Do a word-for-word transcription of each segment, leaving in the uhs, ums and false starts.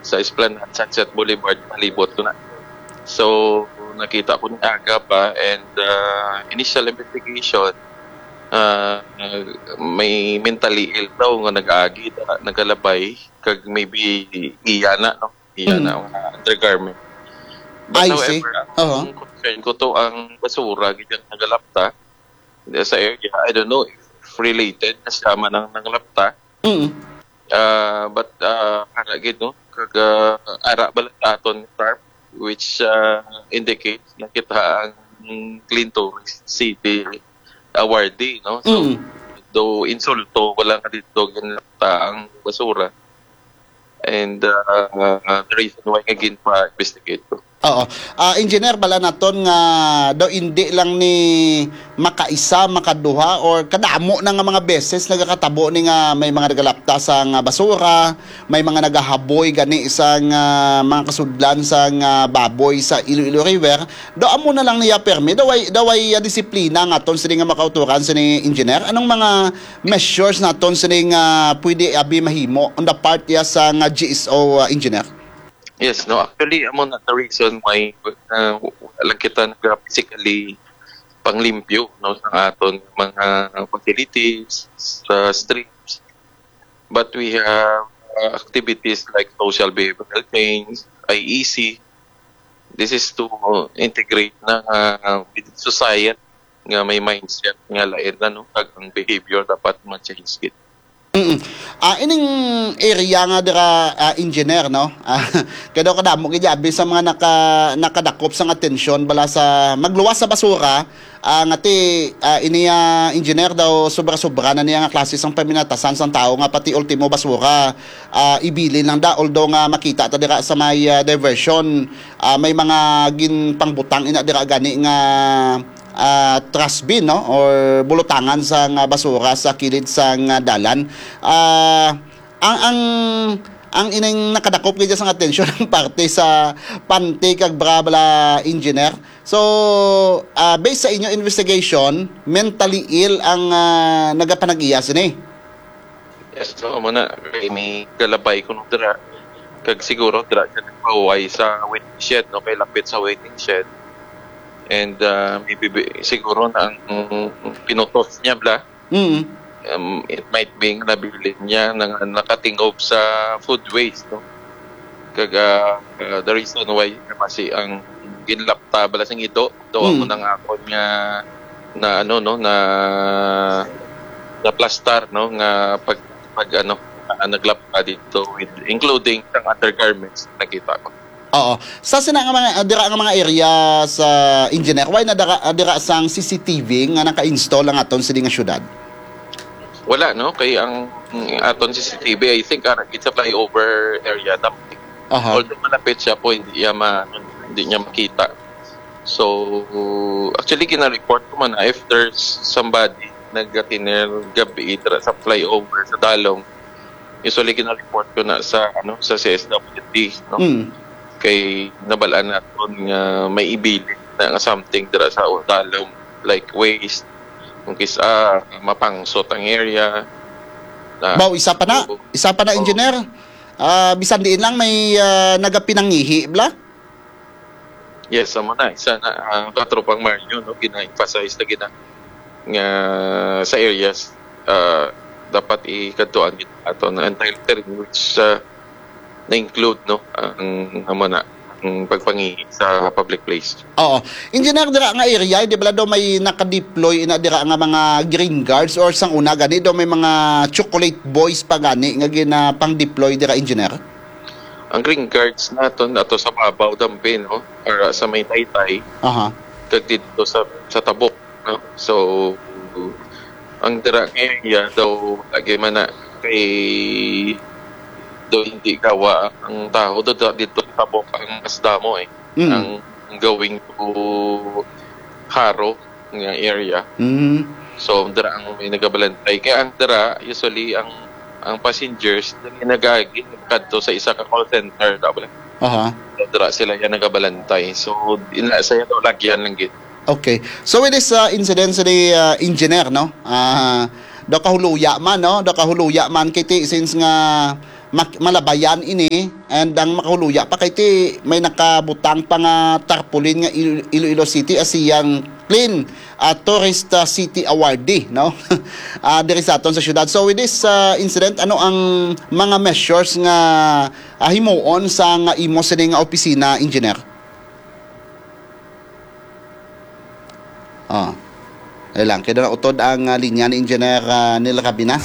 sa Esplanade, Sunset Boulevard, palibot ko na. So, nakita ko ni aga pa, and, ah, initial investigation, ah, may mentally ill daw nga nag-agi, nagalabay, kag maybe iya na, no? Iya Mm. na, mga undergarment. But I see. however, ang Oho. concern ko to, ang basura, gid ang nagalapta sa area. I don't know if related na siya man ang nangalapta. Mm. Ah, but, ah, ara gid, no? Kag, ah, ara bala sa aton ni tarp, which, ah, indicates na kita ang Clean Tourist City awardee, no? So, Mm. though insulto, wala nga dito ginlapta ang basura. And, ah, the reason why nga ginpa-investigate ko. Oo. Ah, Engineer, bala naton nga daw indi lang ni makaisa, makaduha, or kadamo na nga mga beses nagakatabo ni nga may mga nagalapta sa nga basura, may mga nagahaboy gani sa nga mga kasudlan sa nga baboy sa Iloilo River. Daw amo na lang niya permi, daw ay, daw ay, ah, disiplina nga aton sini nga makauturan sini, Engineer. Anong mga measures naton sini nga pwede abi mahimo on the part ya sa nga G S O, ah, Engineer? Yes, no. Actually, amo na the reason why, uh, wala lang kita nag-, physically panglimpyo, no, sa aton mga facilities, sa streets. But we have, uh, activities like social behavioral change, I E C. This is to integrate na, uh, with society nga may mindset nga lain na, no, kag ang behavior dapat ma-change gid. Mm. Ah, ining area nga dira, ah, Engineer, no? Ah, kay daw kadamo gid abi sa mga naka-, nakadakop sang atensyon bala sa magluwas sa basura, ah, nga ti, ah, ini, ah, Engineer, daw sobra-sobra na niya nga klase sang paminatasan sang tawo nga pati ultimo basura, ah, ibilin lang da, although nga makita ta dira sa may, ah, diversion, ah, may mga ginpangbutang ina dira gani nga ah, trash bin, no, or bulutangan sang basura sa kilid sang dalan. Ah, ang, ang, ang ining nakadakop gid sang atensyon ang parte sa panty kag bra bala, Engineer. So, ah, based sa inyo investigation, mentally ill ang, ah, nagapanag-iya sini? Yes, so, amo na, kay may galabay kuno dira. Kag siguro dira siya nagpahuway sa waiting shed, no, kay lapit sa waiting shed. And, ah, maybe, bi-, siguro na ang pinutos niya bala, Mm. um, it might be nga nabilin niya na nakatingob sa food waste, no? Kag, ah, ah, the reason why nga masi ang ginlapta bala sing ido, daw amo Mm. nang akon nga na, ano, no, na, na plastar, no, nga pag, pag, ano, ah, naglapta dito with, including sang undergarments, nakita ko. Oo. Sa sina nga mga, ah, dira nga mga area sa, Engineer, wala na dira, ah, dira sang C C T V nga naka-install ang aton sini nga syudad? Wala, no? Kay ang, ang aton C C T V, I think, ah, it's a flyover area. Aha. Although malapit siya po, hindi niya ma-, hindi niya makita. So, actually, gina-report ko man na if there's somebody nagkatiner gabi dira sa flyover sa Dalong, usually gina-report ko na sa, ano, sa C S W D, no? Mm. Kay nabalaan naton nga may ibilin na nga something dira sa Dalong, like waste, kung kis-, ah, mapangsot ang area. Na, Baw, isa pa na, oo. isa pa na, Oo. Engineer. Ah, bisan diin lang may, ah, nagapinangihi, bala? Yes, amo na. Isa na, ang Katropang Mario, no, gina-emphasize na gina-, nga sa areas, ah, dapat ikadtuan gid ato na entire terrain, which, ah, na-include, no, ang, amo na, ang pagpangihi sa public place. Oo. Engineer, dira nga area, di bala daw may naka-deploy ina dira nga mga green guards or sang una gani daw may mga chocolate boys pa gani nga ginapang-deploy dira, Engineer? Ang green guards naton ato sa babaw dampi, no? Or, ah, sa may taytay. Aha. Kag dito sa, sa tabok, no? So, ang dira nga area daw lagi man na kay daw hindi gawa ang tawo do, do, dito sa tabok ang mas damo, eh. Mm. Ang going to Jaro nga area. Mm. So, dira ang may nagabalantay. Kaya ang dira, usually, ang, ang passengers, dali nagagi, kadto sa isa ka call center, daw bala. Aha. So, dira sila yan nagabalantay. So, ina, sa yan, lagyan lang gid. Okay. So, with this, uh, incident, the, uh, Engineer, no? Ah, daw kahuluya man, no? Daw kahuluya man, kay ti, since nga mak-, malabayan ini, and ang makahuluya pa kay ti may nakabutang pa nga tarpaulin nga Il-, Iloilo City ASEAN Clean, ah, Tourist, ah, City Awardee, no? Ah, diri sa aton sa syudad. So with this, ah, incident, ano ang mga measures nga, ah, himuon sa nga imo sini nga opisina, Engineer? Ah. Ay lang, kaya na utod ang, ah, linya ni Engineer, ah, Neil Rabina.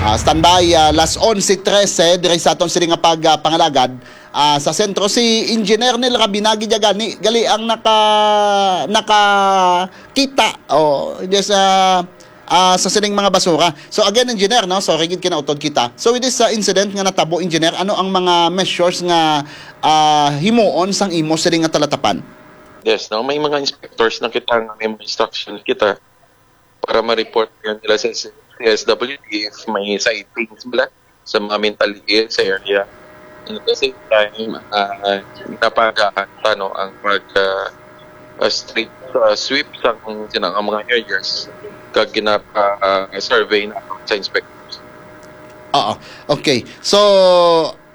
Ah, standby, ah, las onse trese, diri sa aton sini nga pag, ah, pangalagad. Ah, sa sentro si Engineer Neil Rabina, gid gani, gali ang naka-, nakakita. Oh, yes, ah, ah, sa sining mga basura. So again, Engineer, no? Sorry gid kinautod kita. So with this, ah, incident nga natabo, Engineer, ano ang mga measures nga, ah, himuon sang imo sining nga talatapan? Yes, no? May mga inspectors na kita nga may mga instruction kita para ma-report yan nila sa C S W D if may sightings bala sa mga mental ill sa area. And at the same time, ah, napagahan pa, no, ang pag, ah, ah, street, ah, sweep sa kung sino ang mga areas kag ginapa, ah, survey na sa inspectors. Oo. Okay. So,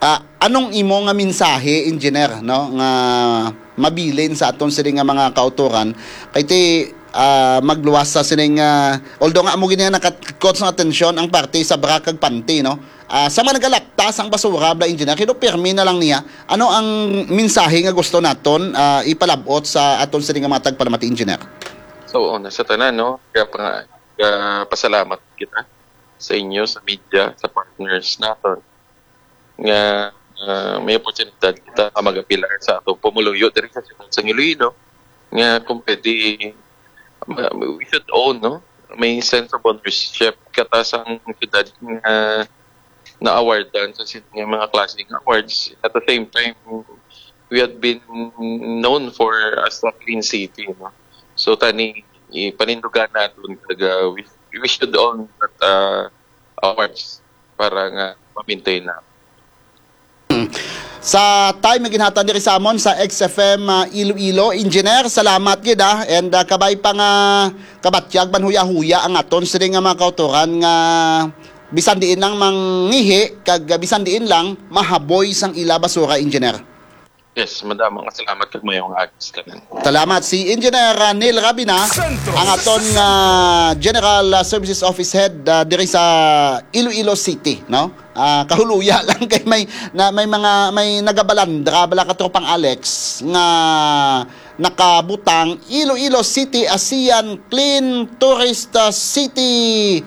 ah, anong imo nga mensahe, Engineer, no, nga mabilin sa aton sini nga mga kautoran? Kay ti, ah, magluwas sa sining, ah, although nga amo gini nga nakatikot sa atensyon ang parte sa bra kag panty, no? Ah, sa mga nagalapta sang basura, bala, Engineer, kino pirmi na lang niya. Ano ang mensahe nga gusto naton, ah, ipalabot sa aton sini nga mga tagpalamati, Engineer? So, una, sa tanan, no, kaya pa nga, ah, pasalamat kita sa inyo, sa media, sa partners naton nga, ah, may oportunidad kita nga mag-apilar sa atong pumuluyo diri sa siyudad sa Iloilo, nga kung pwede, ma-, we should own, no? May sense of ownership kata sang siyudad nga na-awardan sa sin-, nga mga klaseng awards. At the same time, we had been known for as a clean city, no? So, tani, ipanindugan naton kag, ah, we, we should own that, ah, awards para nga ma-maintain na. Sa time nga ginhatag diri sa amon sa X F M, ah, Iloilo, Engineer, salamat gid, ah. And, ah, kabay pa nga kabatyag man huya-huya ang aton sini nga mga kautoran nga bisan diin lang mangihi kag bisan diin lang mahaboy sang ila basura, Engineer. Yes, madamo nga salamat kag maayong aga sa tanan. Salamat. Si Engineer, ah, Neil Rabina, Sentro. Ang aton, ah, General, ah, Services Office Head, ah, diri sa Iloilo City, no? Ah, kahuluya lang kay may, na, may mga, may nagabalandra bala, katropang Alex, nga nakabutang Iloilo City ASEAN Clean Tourist, ah, City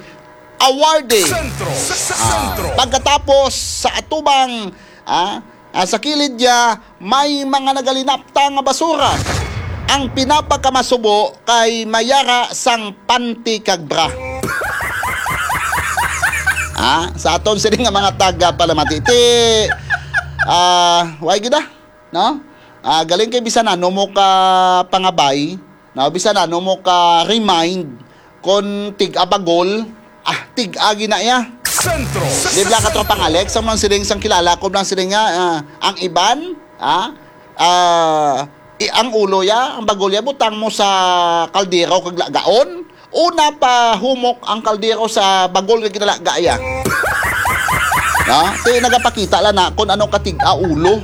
Awardee. Sentro. Ah, Sentro. Pagkatapos sa atubang, ah, ah, sa kilid niya, may mga nagalinapta nga basura. Ang pinapakamasubo kay mayara sang panty kag bra. Ah, sa aton sini nga mga taga Palamati. Ti, ah, way gid, ah, no? Ah, galing kay bisan ano mo ka pangabay, no? Bisan ano mo ka remind, kon tig-a bagol, ah, tig-a gina iya. Sentro. Di bala, katropang Alex, ang mga siling sang kilala ko, mga siling nga, ah, ang iban, ah, ah, i-, ang ulo ya, ang bagol ya, butang mo sa kaldero kag lagaon. Una pa humok ang kaldero sa bagol nga ginalaga ya. No? Ti nagapakita lang na kung ano katig-a ulo.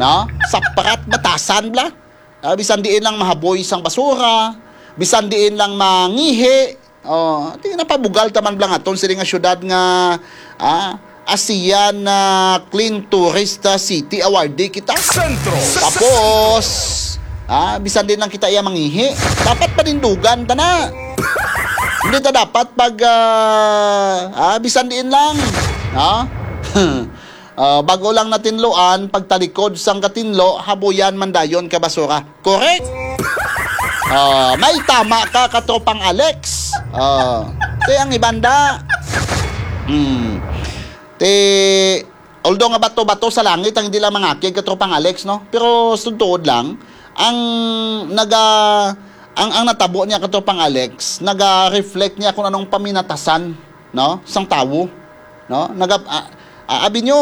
No? Saprat batasan bala. Ah, bisan diin lang mahaboy sang basura, bisan diin lang mangihi. Oh, ti napabugal ta man bala nga aton sini nga syudad nga, ah, ASEAN, ah, Clean Tourist, ah, City Awardee kita. Sentro. Tapos, ah, bisan diin lang kita iya mangihi, dapat panindugan ta na. Hindi ta dapat pag, ah, ah, bisan diin lang, no? Ah, bago lang natinluan, pagtalikod sang katinlo, habuyan man dayon ka basura. Correct? Ah, may tama ka, katropang Alex. Ah, ti ang iban da. Hmm. Ti, although nga bato-bato sa langit ang hindi lang mangakig, katropang Alex, no? Pero sudtuod lang, ang naga-, ang, ang natabo niya, katropang Alex, naga-reflect niya kung anong paminatasan, no, sang tawo, no? Naga-, ah, ah, abi nyo,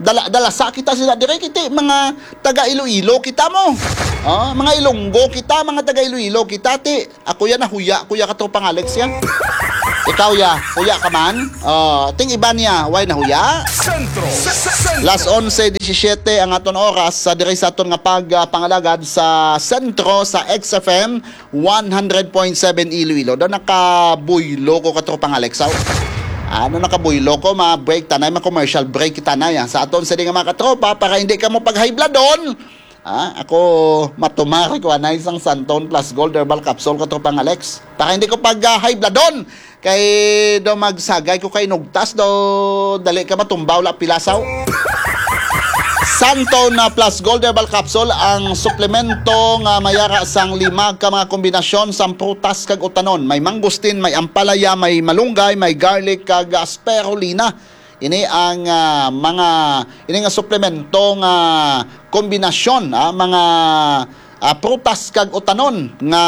dala-, dalasa kita sila dire, kiti mga taga Iloilo kita mo. Oh, mga Ilonggo kita, mga taga Iloilo kita, ti. Ako yan, nahuya, kuya, katropang Alex yan. Ikaw ya, huya ka man? Oh, ting iba niya, way na huya? Sentro. Las onse disisiete ang aton oras sa diri sa aton nga pagpangalagad sa sentro sa X F M one hundred point seven Iloilo. Do nakabuylo ko, katropang Alex, aw. Ano, nakabuylo ko, ma-break tanay, ma-commercial break kita na yan. Sa aton sini nga mga katropa, para hindi ka mo pag-high bloodon, ah, ako matumari ko anay sang Santon Plus Gold Herbal Capsule, katropang Alex. Para hindi ko pag-high bloodon, kay do magsagay ko kay nugtas do, dali ka matumbaw la pilasaw. Santon na Plus Gold Herbal Capsule ang suplemento nga mayara sang lima ka mga kombinasyon sang prutas kag utanon. May mangustin, may ampalaya, may malunggay, may garlic, kag, ah, spirulina. Ini ang, ah, mga, ini nga suplemento nga kombinasyon, ah, mga, ah, prutas kag utanon nga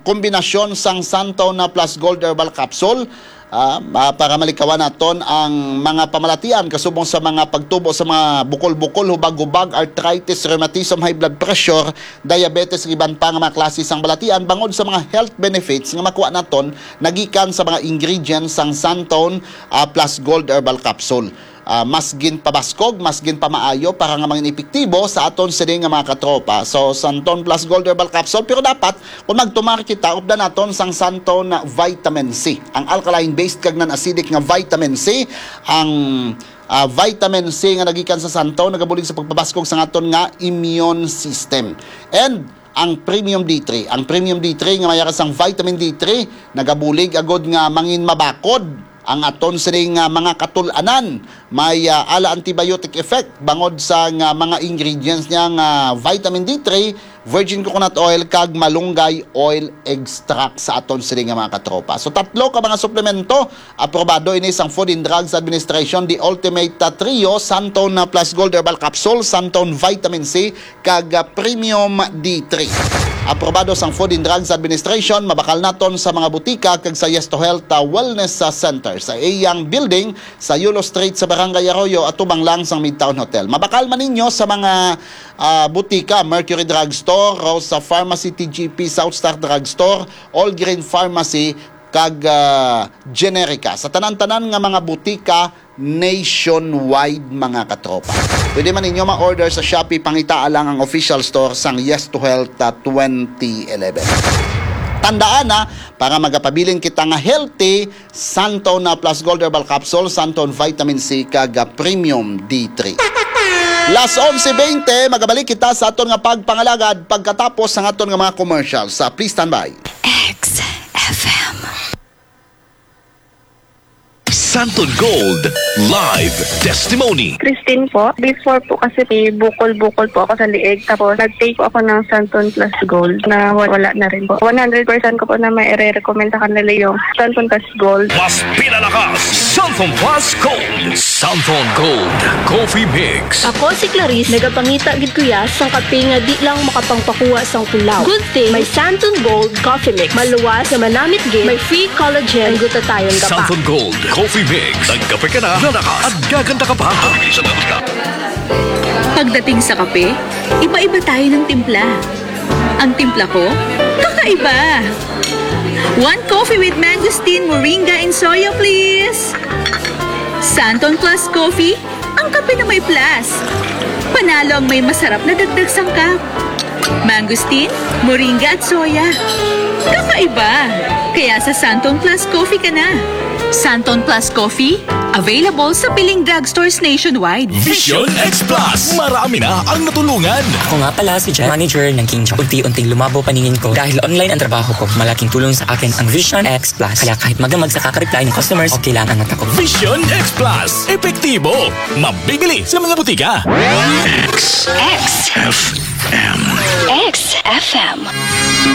kombinasyon sang Santon na Plus Gold Herbal Capsule. Ah, ah, para malikawan naton ang mga pamalatian kasubong sa mga pagtubo sa mga bukol-bukol, hubag-hubag, arthritis, rheumatism, high blood pressure, diabetes, ug iban pa nga mga klase sang balatian bangod sa mga health benefits nga makuha naton nagikan sa mga ingredients sang Santon, ah, Plus Gold Herbal Capsule. Ah, mas ginpabaskog, mas ginpamaayo para nga mangin epektibo sa aton sini nga mga katropa. So, Santon Plus Gold Herbal Capsule, pero dapat kung magtumar kita, updan naton sang Santon Vitamin C, ang alkaline-based kag non-acidic nga vitamin C. Ang, ah, vitamin C nga nagikan sa Santon nagabulig sa pagpabaskog sa aton nga immune system. And ang Premium D three, ang Premium D three nga mayara sang vitamin D three nagabulig agud nga mangin mabakod ang aton sining, ah, mga katul-anan. May, ah, ala antibiotic effect bangod sa nga mga ingredients niya nga vitamin D three, virgin coconut oil, kag malunggay oil extract sa aton sini nga mga katropa. So, tatlo ka mga suplemento, aprobado ini sang Food and Drugs Administration, the Ultimate, ah, Trio, Santon, ah, Plus Gold Herbal Capsule, Santon Vitamin C, kag, ah, Premium D three. Aprobado sang Food and Drugs Administration, mabakal naton sa mga butika kag sa Yes to Health, ah, Wellness, ah, Center sa iyang building sa Yulo Street sa Barangay Arroyo, atubang lang sang Midtown Hotel. Mabakal man ninyo sa mga, ah, butika, Mercury Drugstore, Rosa Pharmacy, T G P, South Star Drugstore, All Green Pharmacy, kag, ah, Generica. Sa tanan-tanan nga mga butika nationwide, mga katropa. Pwede man ninyo ma-order sa Shopee, pangitaa lang ang official store sang Yes to Health, ah, twenty eleven. Tandaan na, para magapabilin kita nga healthy, Santon na Plus Gold Herbal Capsule, Santon Vitamin C, kag, ah, Premium D three. Las onse bente, magabalik kita sa aton nga pagpangalagad pagkatapos sang aton nga mga commercials. Ah, please stand by. X F M. Santon Gold Live Testimony. Christine po. Before po kasi may bukol-bukol po ako sa liig. Tapos nag-take po ako ng Santon Plus Gold na wa-, wala na rin po. One hundred percent ko po na may ire-recommend sa kanila yung Santon Plus Gold. Mas pinalakas, Santon Plus Gold. Santon Gold Coffee Mix. Ako si Clarice, nagapangita gid ko ya sang kape nga di lang makapangpakuha sang kulaw. Good thing may Santon Gold Coffee Mix. Maluwas nga manamit gid, may free collagen, ang gutatayon ka pa. Santon Gold Coffee Mix. Nagkape ka na, lalakas, at gaganda ka pa. Pagdating sa kape, iba-iba tayo ng timpla. Ang timpla ko, kakaiba. One coffee with mangosteen, moringa, and soya, please. Santon Plus Coffee, ang kape na may plus. Panalo ang may masarap na dagdag sangkap. Mangosteen, moringa at soya. Kakaiba! Kaya sa Santon Plus Coffee ka na. Santon Plus Coffee, available sa piling drugstores nationwide. Vision X Plus. Marami na ang natulungan. Ako nga pala si Jeff, manager ng King John. Unti-unting lumabo paningin ko dahil online ang trabaho ko. Malaking tulong sa akin ang Vision X Plus. Kaya kahit magdamag sa kaka-reply ng customers, okay lang ang mata ko. Vision X Plus. Epektibo. Mabibili sa mga butika. X. X F M. X F M.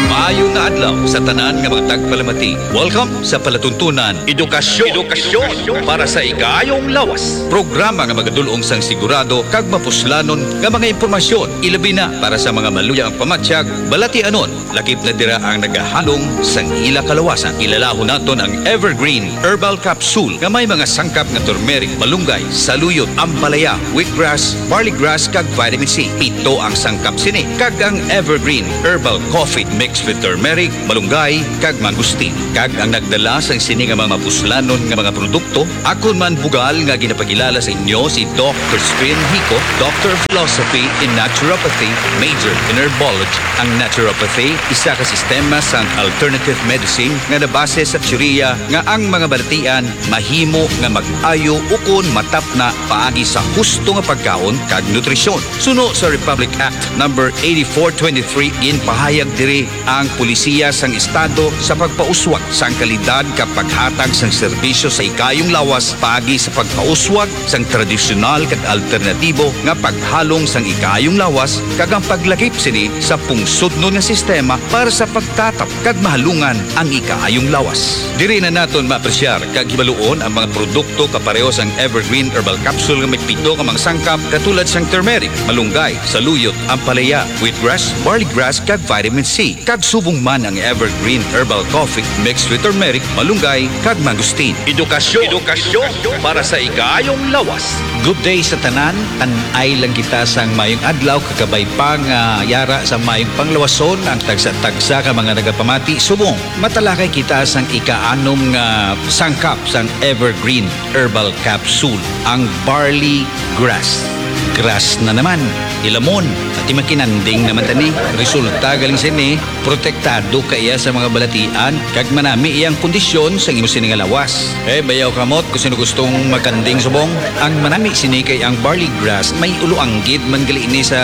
Maayo nga adlaw sa tanan nga mga tagpalamati. Welcome sa Palatuntunan Edukasyon. Edukasyon para sa ikaayong lawas. Programa nga magadul-ong sang sigurado kag mapuslanon nga mga impormasyon, ilabi na para sa mga maluya ang pamatyag, balatianon, lakip na dira ang nagahalong sang ila kalawasan. Ilalahon naton ang Evergreen Herbal Capsule nga may mga sangkap nga turmeric, malunggay, saluyot, ampalaya, wheatgrass, barley grass, kag vitamin C. Pito ang sangkap sini, kag ang Evergreen Herbal Coffee mixed with turmeric, malunggay, kag mangustin. Kag ang nagdala sang sini nga mga mapuslanon nga mga produkto, akon man bugal nga ginapakilala sa inyo si Doc Crispin Hico, Doctor of Philosophy in Naturopathy, Major in Herbology. Ang naturopathy, isa ka sistema sang alternative medicine nga nabase sa teorya nga ang mga balatian mahimo nga mag-ayo ukon matapna paagi sa husto nga pagkaon kag nutrisyon. Suno sa Republic Act Number eighty-four twenty-three, ginpahayag diri ang polisiya sang estado sa pagpauswag sang kalidad kag paghatag sang serbisyo sa ikayong lawas paagi sa pagpauswag sang tradisyonal kag alternatibo nga paghalong sang ikayong lawas kag ang paglakip sini sa pungsodnon nga sistema para sa pagtatap kag mahalungan ang ikaayong lawas. Diri na naton maapresyar kag hibaluon ang mga produkto kapareho sang Evergreen Herbal Capsule nga may pito ka mga sangkap, katulad sang turmeric, malunggay, saluyot, ampalaya, wheatgrass, barley grass, kag vitamin C. Kag subong man ang Evergreen Herbal Coffee mixed with turmeric, malunggay, kag mangustin. Edukasyon, edukasyon para sa ikayong lawas. Good day sa tanan. Tan-ay lang kita sang mayong adlaw, kakabay pa nga yara sa mayong panglawason ang tagsa-tagsa ka mga nagapamati. Subong matalakay kita sang ika-anom nga sangkap sang Evergreen Herbal Capsule, ang barley grass. Grass na naman, hilamon, pati makinanding naman tani. Resulta galing sini, protektado ka iya sa mga balatian, kag manami iyang kondisyon sa imo sini nga lawas. Eh, bayaw kamot kung sino gustong makanding subong. Ang manami sini kay ang barley grass, may ulo anggid man gali ini sa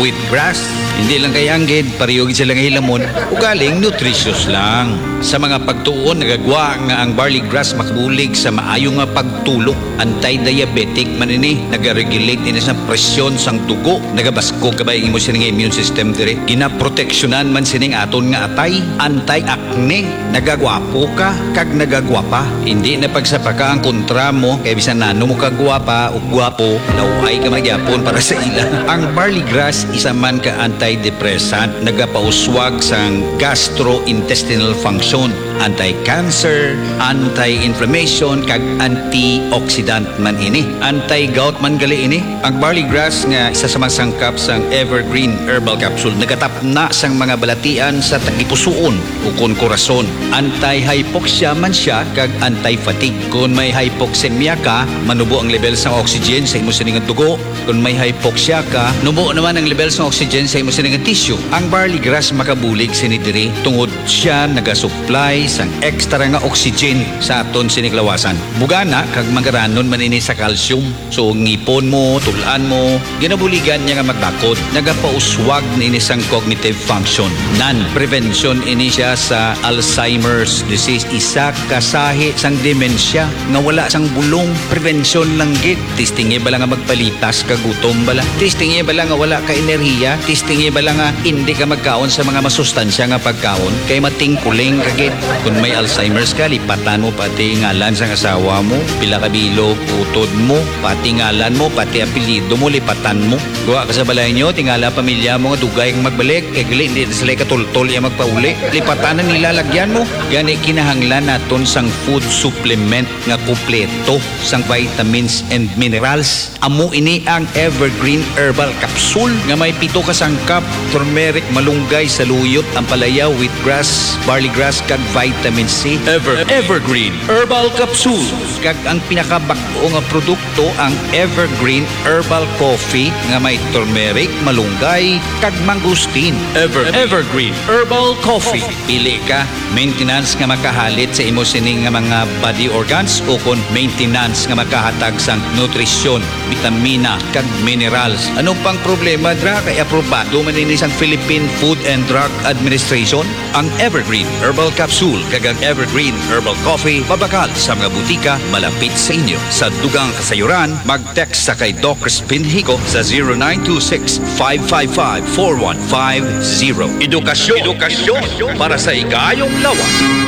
wheat grass. Hindi lang kay anggid, pareho gid sila nga hilamon. Ugaling nutritious lang. Sa mga pagtuon, nagagwa nga ang barley grass makabulig sa maayo nga pagtulok. Anti-diabetic man ini, nagaregulate ini sa presyon sang dugo, nagabaskog kabay ang imo sini nga immune system diri. Ginaproteksyonan man sining aton nga atay, anti-acne, nagagwapo ka, kag nagagwapa. Hindi na pagsapaka ang kontra mo, kay bisan nano mo kagwapa o gwapo, law-ay ka man gyapon para sa ila. Ang barley grass isa man ka antidepressant, nagapauswag sang gastrointestinal function, anti-cancer, anti-inflammation, kag antioxidant man ini. Anti-gout man gali ini. Ang barley grass nga isa sa mga sangkap sang Evergreen Herbal Capsule nagatapna sang mga balatian sa tagipusoon ukon korason. Anti-hypoxia man sia kag anti-fatigue. Kon may hypoxemia ka, manubo ang level sang oxygen sa imo sini nga dugo. Kon may hypoxia ka, nubo naman ang level sang oxygen sa imo sini nga tissue. Ang barley grass makabulig sini diri tungod sia nagasupply sang extra nga oxygen sa aton sini kalawasan. Bugana kag magaranon man ini sa calcium. So, ngipon mo, tul-an mo, ginabuligan niya nga magbakod. Nagapauswag na ini sang cognitive function. Nan, prevention ini siya sa Alzheimer's disease. Isa ka sahi sang dementia nga wala sang bulong. Prevention lang gid. Testingi bala nga magpalitas ka gutom bala. Testingi bala nga wala ka enerhiya. Testingi bala nga hindi ka magkaon sa mga masustansya nga pagkaon. Kay matingkuling ka gid. Kung may Alzheimer's ka, lipatan mo pati ngalan sang asawa mo. Pila ka bilog, utod mo, pati ngalan mo, pati apelyido mo, lipatan mo. Kuha ka sa balay nyo, tingala pamilya mo nga dugay kang magbalik, kay gali hindi na sila katultol iya magpauli. Lipatan na nila, lagyan mo. Gani kinahanglan naton sang food supplement nga kompleto sang vitamins and minerals. Amo ini ang Evergreen Herbal Capsule nga may pito ka sangkap, turmeric, malunggay, saluyot, ampalaya, wheatgrass, barleygrass, kag vitamin C. Ever Evergreen Herbal Capsule. Kag ang pinakabag-o nga produkto, ang Evergreen Herbal Coffee nga may turmeric, malunggay, kag mangosteen. Ever Evergreen Herbal Coffee. Pili ka, maintenance nga makahalit sa imo sini nga mga body organs, o kon maintenance nga makahatag sang nutrisyon, bitamina, kag minerals. Ano pang problema dra, kay aprobado man ini sang Philippine Food and Drug Administration? Ang Evergreen Herbal Capsule kag ang Evergreen Herbal Coffee mabakal sa mga butika malapit sa inyo. Sa dugang kasayuran, mag-text sa kay Doc Crispin Hico sa zero nine two six, five five five, four one five zero. Edukasyon, edukasyon para sa ikayong lawas.